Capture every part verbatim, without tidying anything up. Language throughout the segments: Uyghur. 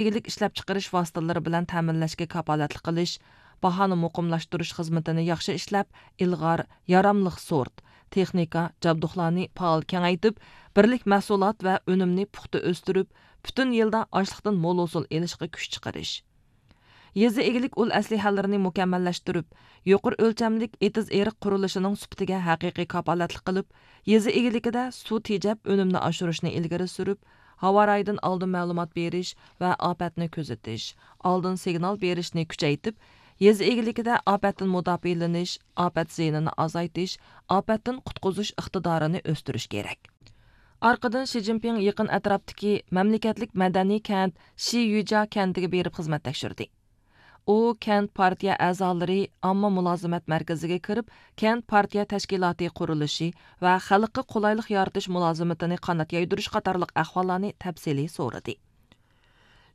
ئىگىلىك ئىشلەپچىقىرىش ۋاسىتىلىرى بىلەن تەمىنلەشكە كاپالەتلىك قىلىش، باھانى مۇقىملاشتۇرۇش خىزمىتىنى ياخشى ئىشلەپ، ئىلغار، ياراملىق سورت، تېخنىكا، جابدۇقلارنى پائال كېڭەيتىپ، بىرلىك مەھسۇلات ۋە ئۈنۈمنى پۇختا ئۆستۈرۈپ، پۈتۈن يىلدا ئاشلىقتىن مول ھوسۇل ئېلىشقا كۈچ چىقىرىش. يېزا ئىگىلىك ئۇل ئەسلىھەلىرىنى مۇكەممەللەشتۈرۈپ، يۇقىرى ئۆلچەملىك ئېتىز-ئېرىق قۇرۇلۇشىنىڭ سۈپىتىگە ھەقىقىي كاپالەتلىك قىلىپ، يېزا ئىگىلىكىدە سۇ تېجەپ ئۈنۈمنى ئاشۇرۇشنى ئىلگىرى سۈرۈپ، ھاۋارايىدىن ئالدىن مەلۇمات بېرىش ۋە ئاپەتنى كۆزىتىش، ئالدىن سىگنال بېرىشنى كۈچەيتىپ، يېزا ئىگىلىكىدە ئاپەتتىن مۇداپىئەلىنىش، ئاپەت زىيىنىنى ئازايتىش، ئاپەتتىن قۇتقۇزۇش ئىقتىدارىنى ئۆستۈرۈش كېرەك. ئارقىدىن شى جىنپىڭ يېقىن ئەتراپتىكى مەملىكەتلىك مەدەنىي كەنت شىيۈجيا كەنتىگە بېرىپ خىزمەت تەكشۈردى. ئۇ كەنت پارتىيە ئەزالىرى، ئامما مۇلازىمەت مەركىزىگە كىرىپ، كەنت پارتىيە تەشكىلاتى قۇرۇلۇشى ۋە خەلققە قولايلىق يارىتىش مۇلازىمىتىنى قانات يايدۇرۇش قاتارلىق ئەھۋاللارنى تەپسىلىي سورىدى.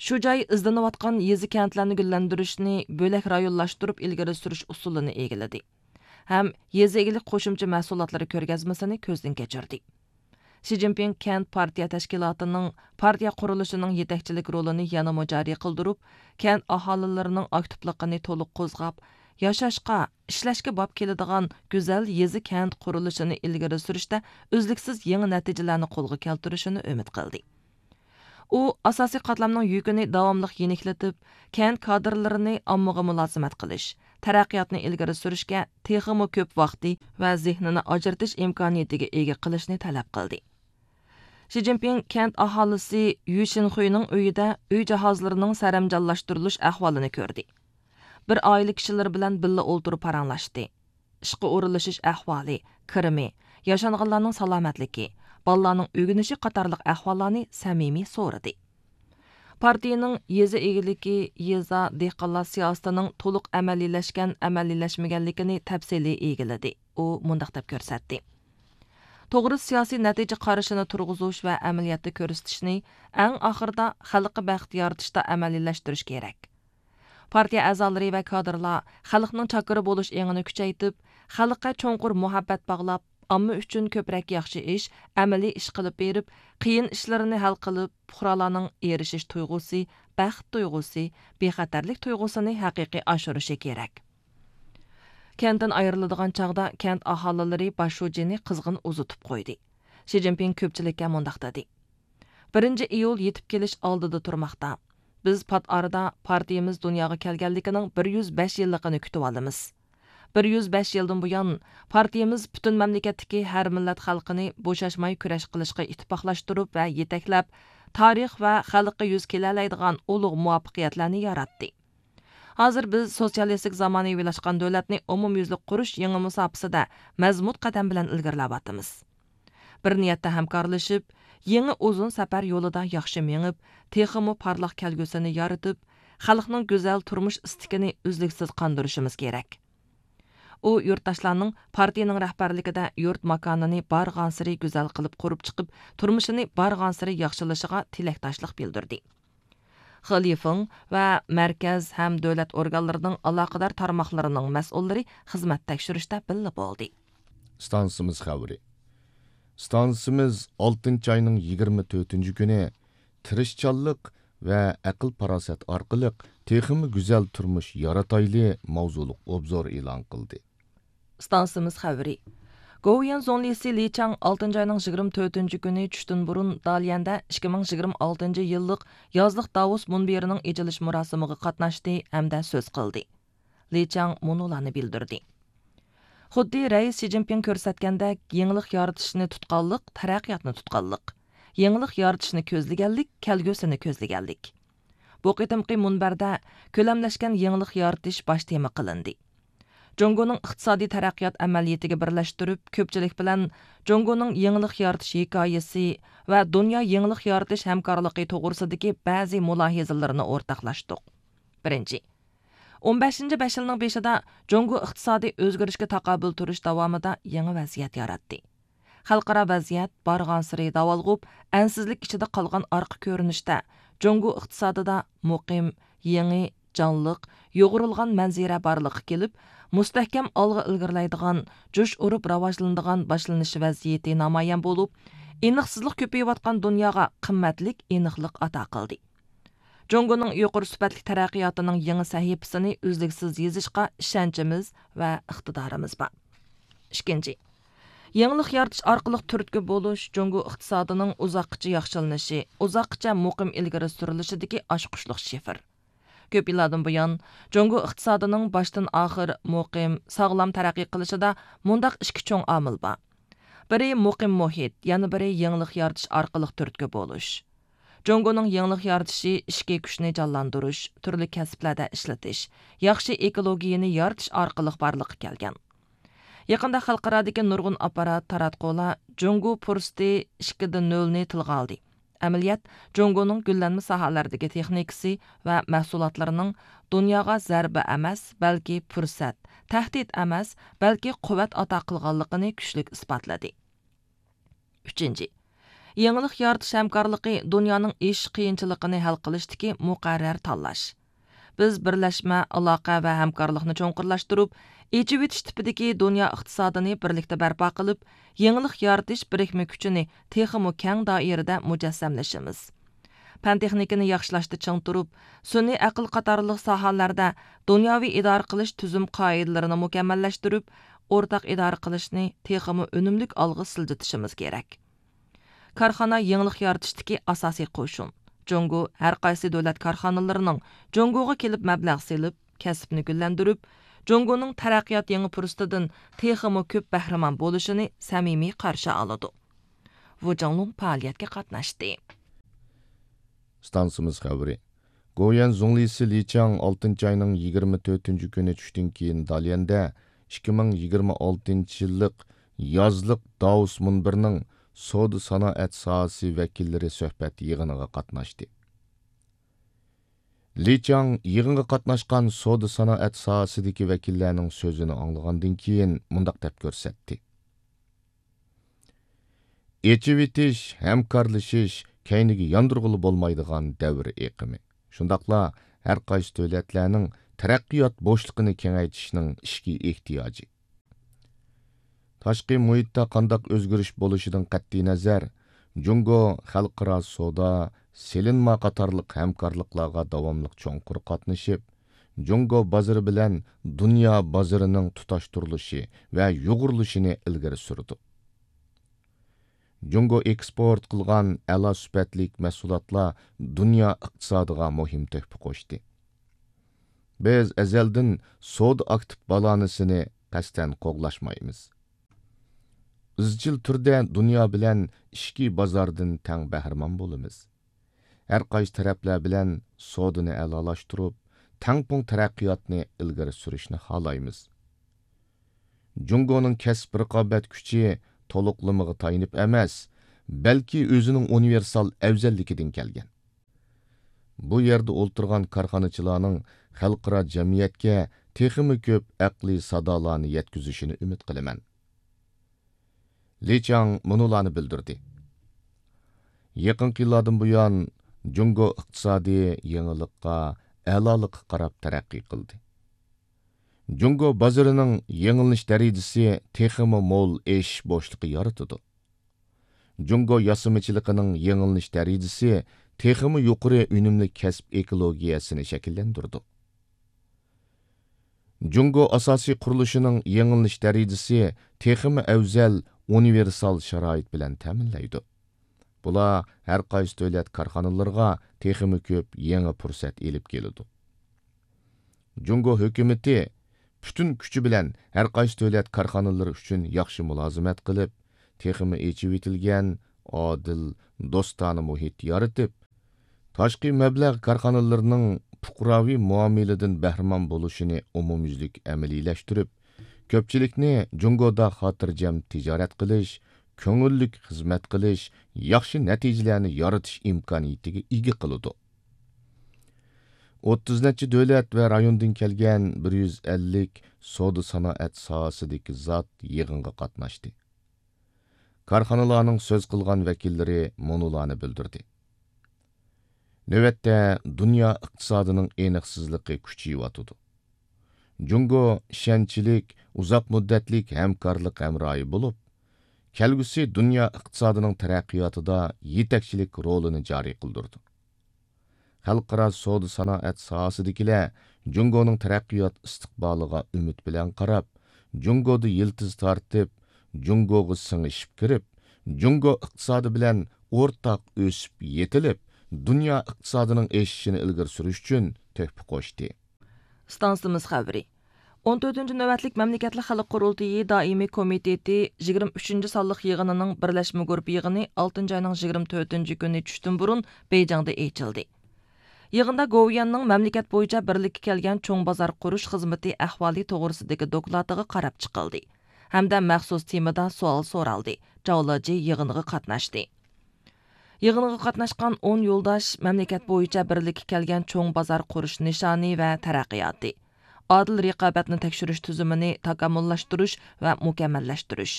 شۇ جاي ئىزدىنىۋاتقان يېزا كەنتلەرنى گۈللەندۈرۈشنى بۆلەك رايونلاشتۇرۇپ ئىلگىرى سۈرۈش ئۇسۇلىنى ئىگىلىدى ھەم يېزا ئىگىلىك قوشۇمچە مەھسۇلاتلىرى كۆرگەزمىسىنى كۆزدىن كەچۈردى. شى جىنپىڭ كەنت پارتىيە تەشكىلاتىنىڭ پارتىيە قۇرۇلۇشىنىڭ يېتەكچىلىك رولىنى يەنىمۇ جارى قىلدۇرۇپ، كەنت ئاھالىلىرىنىڭ ئاكتىپلىقىنى تولۇق قوزغاپ، ياشاشقا، ئىشلەشكە باب كېلىدىغان گۈزەل يېزا كەنت قۇرۇلۇشىنى ئىلگىرى سۈرۈشتە ئۈزلۈكسىز يېڭى نەتىجىلەرنى قولغا كەلتۈرۈشىنى ئۈمىد قىلدى. ئۇ ئاساسىي قاتلامنىڭ يۈكىنى داۋاملىق يېنىكلىتىپ، كەنت كادىرلىرىنى ئاممىغا مۇلازىمەت قىلىش، تەرەققىياتنى ئىلگىرى سۈرۈشكە تېخىمۇ كۆپ ۋاقتى ۋە زېھنىنى ئاجرىتىش ئىمكانىيىتىگە ئىگە قىلىشنى تەلەپ قىلدى. شى جىنپىڭ كەنت ئاھالىسى يۈ شىنخۇينىڭ ئۆيىدە ئۆي جاھازلىرىنىڭ سەرەمجانلاشتۇرۇلۇش ئەھۋالىنى كۆردى. بىر ئائىلە كىشىلىرى بىلەن بىللە ئولتۇرۇپ پاراڭلاشتى. ئىشقا ئورۇنلىشىش ئەھۋالى، كىرىمى، ياشانغانلارنىڭ سالامەتلىكى، بالىلارنىڭ ئۆگىنىشى قاتارلىق ئەھۋاللارنى سەمىمىي سورىدى. پارتىيىنىڭ يېزا ئىگىلىكى، يېزا، دېھقانلار سىياسىتىنىڭ تولۇق ئەمەلىيلەشكەن، ئەمەلىيلەشمىگەنلىكىنى تەپسىلىي ئىگىلىدى. ئۇ مۇنداق دەپ كۆرسەتتى: توغرا سىياسىي نەتىجە قارىشىنى تۇرغۇزۇش ۋە ئەمەلىيەتتە كۆرسىتىشنى ئەڭ ئاخىرىدا خەلققە بەخت يارىتىشتا ئەمەلىيلەشتۈرۈش كېرەك. پارتىيە ئەزالىرى ۋە كادىرلار خەلقنىڭ چاكىرى بولۇش ئېڭىنى كۈچەيتىپ، خەلققە چوڭقۇر مۇھەببەت باغلاپ، ئامما ئۈچۈن كۆپرەك ياخشى ئىش، ئەمەلىي ئىش قىلىپ بېرىپ، قىيىن ئىشلىرىنى ھەل قىلىپ، پۇقرالارنىڭ ئېرىشىش تۇيغۇسى، بەخت تۇيغۇسى، بىخەتەرلىك تۇيغۇسىنى ھەقىقىي ئاشۇرۇشى كېرەك. كەنتتىن ئايرىلىدىغان چاغدا كەنت ئاھالىلىرى باش شۇجىنى قىزغىن ئۇزىتىپ قويدى. شى جىنپىڭ كۆپچىلىككە مۇنداق دېدى: بىرىنچى ئىيۇل يېتىپ كېلىش ئالدىدا تۇرماقتا. بىز پات ئارىدا پارتىيىمىز دۇنياغا كەلگەنلىكىنىڭ بىر يۈز بەش يىللىقىنى كۈتۈۋالىمىز. بىر يۈز بەش يىلدىن بۇيان، پارتىيىمىز پۈتۈن مەملىكەتتىكى ھەر مىللەت خەلقىنى بوشاشماي كۈرەش قىلىشقا ئىتتىپاقلاشتۇرۇپ ۋە يېتەكلەپ، تارىخ ۋە خەلققە يۈز كېلەلەيدىغان ئۇلۇغ مۇۋەپپەقىيەتلەرنى ياراتتى. ھازىر بىز سوتسىيالىستىك زامانىۋىلاشقان دۆلەتنى ئومۇميۈزلۈك قۇرۇش يېڭى مۇساپىسىدە مەزمۇت قەدەم بىلەن ئىلگىرىلەۋاتىمىز. بىر نىيەتتە ھەمكارلىشىپ، يېڭى ئۇزۇن سەپەر يولىدا ياخشى مېڭىپ، تېخىمۇ پارلاق كەلگۈسىنى يارىتىپ، خەلقنىڭ گۈزەل تۇرمۇش ئىستىكىنى ئۈزلۈكسىز قاندۇرۇشىمىز كېرەك. ئۇ يۇرتداشلارنىڭ پارتىيىنىڭ رەھبەرلىكىدە يۇرت ماكانىنى بارغانسېرى گۈزەل قىلىپ قۇرۇپ چىقىپ، تۇرمۇشىنى بارغانسېرى ياخشىلىشىغا تىلەكداشلىق بىلدۈردى. خې لىفېڭ ۋە مەركەز ھەم دۆلەت ئورگانلىرىنىڭ ئالاقىدار تارماقلىرىنىڭ مەسئۇللىرى خىزمەت تەكشۈرۈشتە بىللە بولدى. ئىستانسىمىز خەۋىرى. ئىستانسىمىز ئالتىنچى ئاينىڭ يىگىرمە تۆتىنچى كۈنى تىرىشچانلىق ۋە ئەقىل-پاراسەت ئارقىلىق تېخىمۇ گۈزەل تۇرمۇش يارىتايلى ماۋزۇلۇق ئوبزور ئېلان قىلدى. ئىستانسىمىز خەۋىرى. گوۋۇيۈەن زۇڭلىسى لى چاڭ ئالتىنچى ئاينىڭ يىگىرمە تۆتىنچى كۈنى چۈشتىن بۇرۇن داليەندە ئىككى مىڭ يىگىرمە ئالتىنچى يىللىق يازلىق داۋوس مۇنبىرىنىڭ ئېچىلىش مۇراسىمىغا قاتناشتى ھەمدە سۆز قىلدى. لى چاڭ مۇنۇلارنى بىلدۈردى: خۇددى رەئىس شى جىنپىڭ كۆرسەتكەندەك، يېڭىلىق يارىتىشنى تۇتقانلىق، تەرەققىياتنى تۇتقانلىق. يېڭىلىق يارىتىشنى كۆزلىگەنلىك، كەلگۈسىنى كۆزلىگەنلىك. بۇ قېتىمقى مۇنبەردە كۆلەملەشكەن يېڭىلىق يارىتىش باش تېما قىلىندى. جۇڭگونىڭ ئىقتىسادىي تەرەققىيات ئەمەلىيىتىگە بىرلەشتۈرۈپ، كۆپچىلىك بىلەن جۇڭگونىڭ يېڭىلىق يارىتىش ھېكايىسى ۋە دۇنيا يېڭىلىق يارىتىش ھەمكارلىقى توغرىسىدىكى بەزى مۇلاھىزىلىرىنى ئورتاقلاشتۇق. بىرىنچى، ئون بەشىنچى بەش يىلنىڭ بېشىدا جۇڭگو ئىقتىسادىي ئۆزگىرىشكە تاقابىل تۇرۇش داۋامىدا يېڭى ۋەزىيەت ياراتتى. خەلقئارا ۋەزىيەت بارغانسېرى داۋالغۇپ، ئەنسىزلىك ئىچىدە قالغان ئارقا كۆرۈنۈشتە، جۇڭگو ئىقتىسادىدا مۇقىم، يېڭى، جانلىق، يۇغۇرۇلغان مەنزىرە بارلىققا كېلىپ، مۇستەھكەم ئالغا ئىلگىرىلەيدىغان، جۇش ئۇرۇپ راۋاجلىنىدىغان باشلىنىش ۋەزىيىتى نامايان بولۇپ، ئېنىقسىزلىق كۆپىيىۋاتقان دۇنياغا قىممەتلىك ئېنىقلىق ئاتا قىلدى. جۇڭگونىڭ يۇقىرى سۈپەتلىك تەرەققىياتىنىڭ يېڭى سەھىپىسىنى ئۈزلۈكسىز يېزىشقا ئىشەنچىمىز ۋە ئىقتىدارىمىز بار. ئىككىنچى، يېڭىلىق يارىتىش ئارقىلىق تۈرتكە بولۇش جۇڭگو ئىقتىسادىنىڭ ئۇزاققىچە ياخشىلىنىشى، ئۇزاققىچە مۇقىم ئىلگىرى سۈرۈلۈشىدىكى ئاچقۇچلۇق شىفىر. كۆپ يىللاردىن بۇيان، جۇڭگو ئىقتىسادىنىڭ باشتىن ئاخىر مۇقىم، ساغلام تەرەققىي قىلىشىدا مۇنداق ئىككى چوڭ ئامىل بار. بىرى مۇقىم مۇھىت، يەنە بىرى يېڭىلىق يارىتىش ئارقىلىق تۈرتكە بولۇش. جۇڭگونىڭ يېڭىلىق يارىتىشى ئىچكى كۈچنى جانلاندۇرۇش، تۈرلۈك كەسىپلەردە ئىشلىتىش، ياخشى ئېكولوگىيىنى يارىتىش ئارقىلىق بارلىققا كەلگەن. يېقىندا خەلقئارادىكى نۇرغۇن ئاپپارات، تاراتقۇلار جۇڭگو پۇرسىتى ئىككى دە نۆلنى تىلغا ئالدى. ئەمەلىيەت، جۇڭگونىڭ گۈللەنمە ساھەلەردىكى تېخنىكىسى ۋە مەھسۇلاتلىرىنىڭ دۇنياغا زەربە ئەمەس، بەلكى پۇرسەت، تەھدىت ئەمەس، بەلكى قۇۋۋەت ئاتا قىلغانلىقىنى كۈچلۈك ئىسپاتلىدى. ئۈچىنچى، يېڭىلىق يارىتىش ھەمكارلىقى دۇنيانىڭ ئېشىش قىيىنچىلىقىنى ھەل قىلىشتىكى مۇقەررەر تاللاش. بىز بىرلەشمە، ئالاقە ۋە ھەمكارلىقنى چوڭقۇرلاشتۇرۇپ، ئېچىۋېتىش تىپىدىكى دۇنيا ئىقتىسادىنى بىرلىكتە بەرپا قىلىپ، يېڭىلىق يارىتىش بىرىكمە كۈچىنى تېخىمۇ كەڭ دائىرىدە مۇجەسسەملىشىمىز. پەن تېخنىكىنى ياخشىلاشتا چىڭ تۇرۇپ، سۈنئىي ئەقىل قاتارلىق ساھەلەردە دۇنياۋى ئىدارە قىلىش تۈزۈم قائىدىلىرىنى مۇكەممەللەشتۈرۈپ، ئورتاق ئىدارە قىلىشنى تېخىمۇ ئۈنۈملۈك ئالغا سىلجىتىشىمىز كېرەك. كارخانا يېڭىلىق يارىتىشتىكى ئاساسىي قوشۇن. جۇڭگو ھەر قايسى دۆلەت كارخانىلىرىنىڭ جۇڭگوغا كېلىپ مەبلەغ سېلىپ، كەسىپنى گۈللەندۈرۈپ، جۇڭگونىڭ تەرەققىيات يېڭى پۇرسىتىدىن تېخىمۇ كۆپ بەھرىمەن بولۇشىنى سەمىمىي قارشى ئالىدۇ. ۋۇ جاڭلۇڭ پائالىيەتكە قاتناشتى. ئىستانسىمىز خەۋىرى. گويەن زۇڭلىسى لى چاڭ ئالتىنچى ئاينىڭ يىگىرمە تۆتىنچى كۈنى چۈشتىن كېيىن داليەندە ئىككى مىڭ يىگىرمە ئالتىنچى يىللىق يازلىق داۋوس مۇنبىرىنىڭ سودا سانائەت ساھەسى ۋەكىللىرى سۆھبەت يىغىنىغا قاتناشتى. لى چاڭ يىغىنغا قاتناشقان سودا سانائەت ساھەسىدىكى ۋەكىللەرنىڭ سۆزىنى ئاڭلىغاندىن كېيىن مۇنداق دەپ كۆرسەتتى. ئېچىۋېتىش، ھەمكارلىشىش كەينىگە ياندۇرغىلى بولمايدىغان دەۋر ئېقىمى. شۇنداقلا ھەر قايسى دۆلەتلەرنىڭ تەرەققىيات بوشلۇقىنى كېڭەيتىشنىڭ ئىچكى ئېھتىياجى. تاشقى مۇھىتتا قانداق ئۆزگىرىش بولۇشىدىن قەتئىينەزەر، جۇڭگو خەلقئارا سودا، سېلىنما قاتارلىق ھەمكارلىقلارغا داۋاملىق چوڭقۇر قاتنىشىپ، جۇڭگو بازىرى بىلەن دۇنيا بازىرىنىڭ تۇتاشتۇرۇلۇشى ۋە يۇغۇرۇلۇشىنى ئىلگىرى سۈرىدۇ. جۇڭگو ئېكسپورت قىلغان ئەلا سۈپەتلىك مەھسۇلاتلار دۇنيا ئىقتىسادىغا مۇھىم تۆھپە قوشتى. بىز ئەزەلدىن سودا ئاكتىپ بالانسىنى قەستەن قوغلاشمايمىز. ئىزچىل تۈردە دۇنيا بىلەن ئىچكى بازاردىن تەڭ بەھرىمەن بولىمىز. ھەر قايسى تەرەپلەر بىلەن سودىنى ئەلالاشتۇرۇپ، تەڭپۇڭ تەرەققىياتنى ئىلگىرى سۈرۈشنى خالايمىز. جۇڭگونىڭ كەسىپ رىقابەت كۈچى تولۇقلىمىغا تايىنىپ ئەمەس، بەلكى ئۆزىنىڭ ئۇنىۋېرسال ئەۋزەللىكىدىن كەلگەن. بۇ يەردە ئولتۇرغان كارخانىچىلارنىڭ خەلقئارا جەمئىيەتكە تېخىمۇ كۆپ ئەقلىي سادالارنى يەتكۈزۈشىنى ئۈمىد قىلىمەن. لى چاڭ مۇنۇلارنى بىلدۈردى. يېقىنقى يىللاردىن بۇيان، جۇڭگو ئىقتىسادى يېڭىلىققا، ئەلالىققا قاراپ تەرەققىي قىلدى. جۇڭگو بازىرىنىڭ يېڭىلىنىش دەرىجىسى تېخىمۇ مول ئېشىش بوشلۇقى يارىتىدۇ. جۇڭگو ياسىمىچىلىقىنىڭ يېڭىلىنىش دەرىجىسى تېخىمۇ يۇقىرى ئۈنۈملۈك كەسىپ ئېكولوگىيەسىنى شەكىللەندۈرىدۇ. جۇڭگو ئاساسىي قۇرۇلۇشىنىڭ يېڭىلىنىش دەرىجىسى تېخىمۇ ئەۋزەل ئۇنىۋېرسال شارائىت بىلەن تەمىنلەيدۇ. بۇلار ھەر قايسى دۆلەت كارخانىلىرىغا تېخىمۇ كۆپ يېڭى پۇرسەت ئېلىپ كېلىدۇ. جۇڭگو ھۆكۈمىتى پۈتۈن كۈچى بىلەن ھەر قايسى دۆلەت كارخانىلىرى ئۈچۈن ياخشى مۇلازىمەت قىلىپ، تېخىمۇ ئېچىۋېتىلگەن، ئادىل، دوستانە مۇھىت يارىتىپ، تاشقى مەبلەغ كارخانىلىرىنىڭ پۇقراۋى مۇئامىلىدىن بەھرىمەن بولۇشىنى ئومۇميۈزلۈك ئەمەلىيلەشتۈرۈپ، كۆپچىلىكنى جۇڭگودا خاتىرجەم تىجارەت قىلىش، كۆڭۈللۈك خىزمەت قىلىش، ياخشى نەتىجىلەرنى يارىتىش ئىمكانىيىتىگە ئىگە قىلىدۇ. ئوتتۇز نەچچە دۆلەت ۋە رايوندىن كەلگەن بىر يۈز ئەللىك سودا سانائەت ساھەسىدىكى زات يىغىنغا قاتناشتى. كارخانىلارنىڭ سۆز قىلغان ۋەكىللىرى مۇنۇلارنى بىلدۈردى. نۆۋەتتە دۇنيا ئىقتىسادىنىڭ ئېنىقسىزلىقى كۈچىيىۋاتىدۇ. جۇڭگو ئىشەنچلىك، ئۇزاق مۇددەتلىك ھەمكارلىق ھەمراھى بولۇپ، كەلگۈسى دۇنيا ئىقتىسادىنىڭ تەرەققىياتىدا يېتەكچىلىك رولىنى جارى قىلدۇرىدۇ. خەلقئارا سودا سانائەت ساھەسىدىكىلەر جۇڭگونىڭ تەرەققىيات ئىستىقبالىغا ئۈمىد بىلەن قاراپ، جۇڭگودا يىلتىز تارتىپ، جۇڭگوغا سىڭىشىپ كىرىپ، جۇڭگو ئىقتىسادى بىلەن ئورتاق ئۆسۈپ يېتىلىپ، دۇنيا ئىقتىسادىنىڭ ئېشىشىنى ئىلگىرى سۈرۈش ئۈچۈن تۆھپە قوشتى. ئىستانسىمىز خەۋىرى. ئون تۆتىنچى نۆۋەتلىك مەملىكەتلىك خەلق قۇرۇلتىيى دائىمىي كومىتېتى يىگىرمە ئۈچىنچى سانلىق يىغىنىنىڭ بىرلەشمە گۇرۇپپا يىغىنى ئالتىنچى ئاينىڭ يىگىرمە تۆتىنچى كۈنى چۈشتىن بۇرۇن بېيجىڭدا ئېچىلدى. يىغىندا گوۋۇيۈەننىڭ مەملىكەت بويىچە بىرلىككە كەلگەن چوڭ بازار قۇرۇش خىزمىتى ئەھۋالى توغرىسىدىكى دوكلاتىغا قاراپ چىقىلدى ھەمدە مەخسۇس تېمىدا سوئال سورالدى. جاۋ لېجى يىغىنغا قاتناشتى. يىغىنغا قاتناشقان ئون يولداش مەملىكەت بويىچە بىرلىككە كەلگەن چوڭ بازار قۇرۇش نىشانى ۋە تەرەققىياتى، ئادىل رىقابەتنى تەكشۈرۈش تۈزۈمىنى تاكامۇللاشتۇرۇش ۋە مۇكەممەللەشتۈرۈش،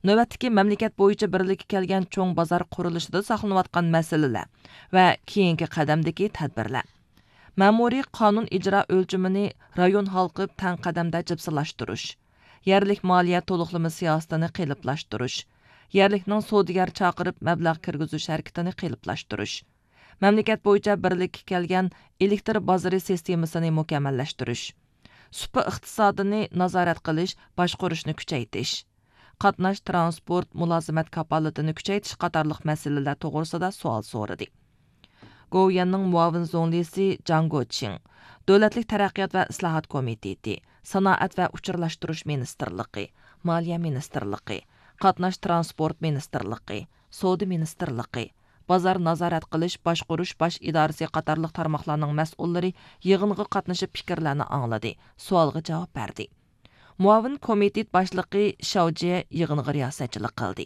نۆۋەتتىكى مەملىكەت بويىچە بىرلىككە كەلگەن چوڭ بازار قۇرۇلۇشىدا ساقلىنىۋاتقان مەسىلىلەر ۋە كېيىنكى قەدەمدىكى تەدبىرلەر، مەمۇرىي قانۇن ئىجرا ئۆلچىمىنى رايون ھالقىپ تەڭ قەدەمدە جىپسىلاشتۇرۇش، يەرلىك مالىيە تولۇقلىما سىياسىتىنى قېلىپلاشتۇرۇش، يەرلىكنىڭ سودىگەر چاقىرىپ مەبلەغ كىرگۈزۈش ھەرىكىتىنى قېلىپلاشتۇرۇش، مەملىكەت بويىچە بىرلىككە كەلگەن ئېلېكتر بازىرى سىستېمىسىنى مۇكەممەللەشتۈرۈش، سۇپا ئىقتىسادىنى نازارەت قىلىش، باشقۇرۇشنى كۈچەيتىش، قاتناش تىرانسپورت مۇلازىمەت كاپالىتىنى كۈچەيتىش قاتارلىق مەسىلىلەر توغرىسىدا سوئال سورىدى. گوۋۇيۈەننىڭ مۇئاۋىن زۇڭلىسى جاڭ گوچىڭ، دۆلەتلىك تەرەققىيات ۋە ئىسلاھات كومىتېتى، سانائەت ۋە ئۇچۇرلاشتۇرۇش مىنىستىرلىقى، مالىيە مىنىستىرلىقى، قاتناش تىرانسپورت مىنىستىرلىقى، سودا مىنىستىرلىقى، بازار نازارەت قىلىش باشقۇرۇش باش ئىدارىسى قاتارلىق تارماقلارنىڭ مەسئۇللىرى يىغىنغا قاتنىشىپ پىكىرلەرنى ئاڭلىدى، سوئالغا جاۋاب بەردى. مۇئاۋىن كومىتېت باشلىقى شاۋ جيې يىغىنغا رىياسەتچىلىك قىلدى.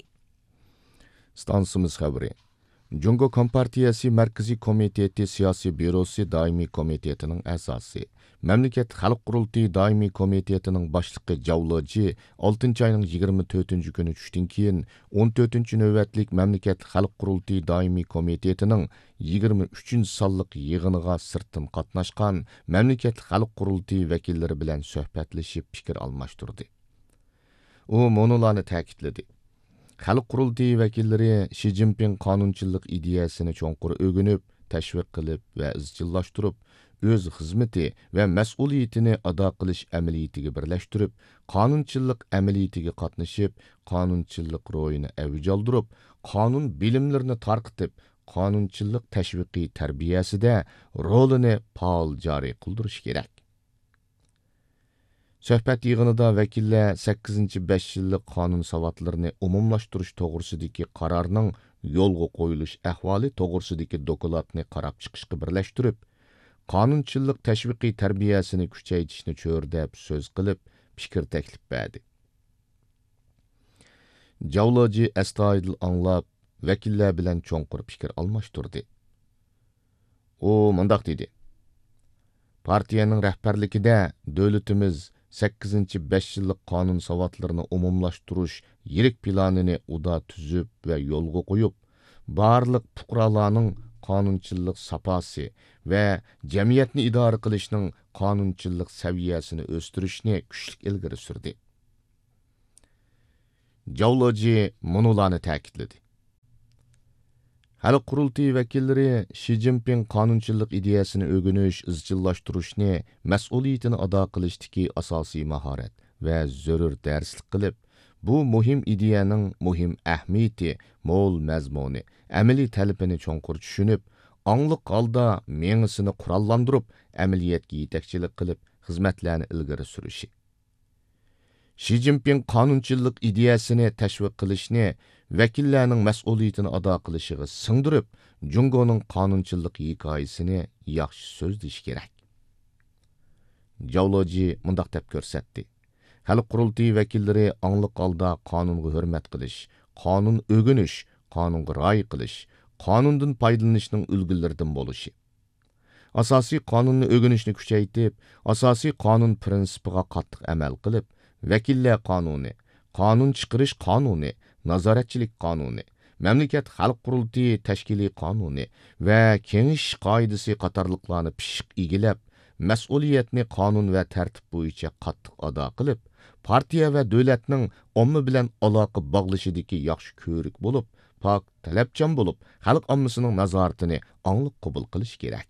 ئىستانسىمىز خەۋىرى. جۇڭگو كومپارتىيەسى مەركىزىي كومىتېتى سىياسىي بيۇروسى دائىمىي كومىتېتىنىڭ ئەزاسى، مەملىكەت خەلق قۇرۇلتىيى دائىمىي كومىتېتىنىڭ باشلىقى جاۋ لېجى ئالتىنچى ئاينىڭ يىگىرمە تۆتىنچى كۈنى چۈشتىن كېيىن، ئون تۆتىنچى نۆۋەتلىك مەملىكەت خەلق قۇرۇلتىيى دائىمىي كومىتېتىنىڭ يىگىرمە ئۈچىنچى سانلىق يىغىنىغا سىرتتىن قاتناشقان مەملىكەت خەلق قۇرۇلتىيى ۋەكىللىرى بىلەن سۆھبەتلىشىپ پىكىر ئالماشتۇردى. ئۇ مۇنۇلارنى تەكىتلىدى: خەلق قۇرۇلتىيى ۋەكىللىرى شى جىنپىڭ قانۇنچىللىق ئىدىيەسىنى چوڭقۇر ئۆگىنىپ، تەشۋىق قىلىپ ۋە ئىزچىللاشتۇرۇپ، ئۆز خىزمىتى ۋە مەسئۇلىيىتىنى ئادا قىلىش ئەمەلىيىتىگە بىرلەشتۈرۈپ، قانۇنچىللىق ئەمەلىيىتىگە قاتنىشىپ، قانۇنچىللىق روھىنى ئەۋج ئالدۇرۇپ، قانۇن بىلىملىرىنى تارقىتىپ، قانۇنچىللىق تەشۋىقىي تەربىيەسىدە رولىنى پائال جارى قىلدۇرۇشى كېرەك. سۆھبەت يىغىنىدا ۋەكىللەر سەككىزىنچى بەش يىللىق قانۇن ساۋاتلىرىنى ئومۇملاشتۇرۇش توغرىسىدىكى قارارنىڭ يولغا قويۇلۇش ئەھۋالى توغرىسىدىكى دوكلاتنى قاراپ چىقىشقا بىرلەشتۈرۈپ، قانۇنچىللىق تەشۋىقىي تەربىيەسىنى كۈچەيتىشنى چۆرىدەپ سۆز قىلىپ، پىكىر تەكلىپ بەردى. جاۋ لېجى ئەستايىدىل ئاڭلاپ، ۋەكىللەر بىلەن چوڭقۇر پىكىر ئالماشتۇردى. ئۇ مۇنداق دېدى: پارتىيەنىڭ رەھبەرلىكىدە دۆلىتىمىز سەككىزىنچى بەش يىللىق قانۇن ساۋاتلىرىنى ئومۇملاشتۇرۇش يىرىك پىلانىنى ئۇدا تۈزۈپ ۋە يولغا قويۇپ، بارلىق پۇقرالارنىڭ قانۇنچىلىق ساپاسى ۋە جەمئىيەتنى ئىدارە قىلىشنىڭ قانۇنچىلىق سەۋىيەسىنى ئۆستۈرۈشنى كۈچلۈك ئىلگىرى سۈردى. جاۋ لېجى مۇنۇلارنى تەكىتلىدى: خەلق قۇرۇلتىيى ۋەكىللىرى شى جىنپىڭ قانۇنچىللىق ئىدىيەسىنى ئۆگىنىش، ئىزچىللاشتۇرۇشنى مەسئۇلىيىتىنى ئادا قىلىشتىكى ئاساسىي ماھارەت ۋە زۆرۈر دەرسلىك قىلىپ، بۇ مۇھىم ئىدىيەنىڭ مۇھىم ئەھمىيىتى، مول مەزمۇنى، ئەمەلىي تەلىپىنى چوڭقۇر چۈشىنىپ، ئاڭلىق ھالدا مېڭىسىنى قوراللاندۇرۇپ، ئەمەلىيەتكە يېتەكچىلىك قىلىپ، خىزمەتلەرنى ئىلگىرى سۈرۈشى. شى جىنپىڭ قانۇنچىللىق ئىدىيەسىنى تەشۋىق قىلىشنى ۋەكىللەرنىڭ مەسئۇلىيىتىنى ئادا قىلىشىغا سىڭدۈرۈپ، جۇڭگونىڭ قانۇنچىللىق ھېكايىسىنى ياخشى سۆزلىشى كېرەك. جاۋ لېجى مۇنداق دەپ كۆرسەتتى: خەلق قۇرۇلتىيى ۋەكىللىرى ئاڭلىق ھالدا قانۇنغا ھۆرمەت قىلىش، قانۇن ئۆگىنىش، قانۇنغا رىئايە قىلىش، قانۇندىن پايدىلىنىشنىڭ ئۈلگىلىرىدىن بولۇشى. ئاساسىي قانۇننى ئۆگىنىشنى كۈچەيتىپ، ئاساسىي قانۇن پىرىنسىپىغا قاتتىق ئەمەل قىلىپ، ۋەكىللەر قانۇنى، قانۇن چىقىرىش قانۇنى، نازارەتچىلىك قانۇنى، مەملىكەت خەلق قۇرۇلتىيى تەشكىلىي قانۇنى ۋە كېڭىشىش قائىدىسى قاتارلىقلارنى پىششىق ئىگىلەپ، مەسئۇلىيەتنى قانۇن ۋە تەرتىپ بويىچە قاتتىق ئادا قىلىپ، پارتىيە ۋە دۆلەتنىڭ ئامما بىلەن ئالاقە باغلىشىدىكى ياخشى كۆۋرۈك بولۇپ، پاك، تەلەپچان بولۇپ، خەلق ئاممىسىنىڭ نازارىتىنى ئاڭلىق قوبۇل قىلىشى كېرەك.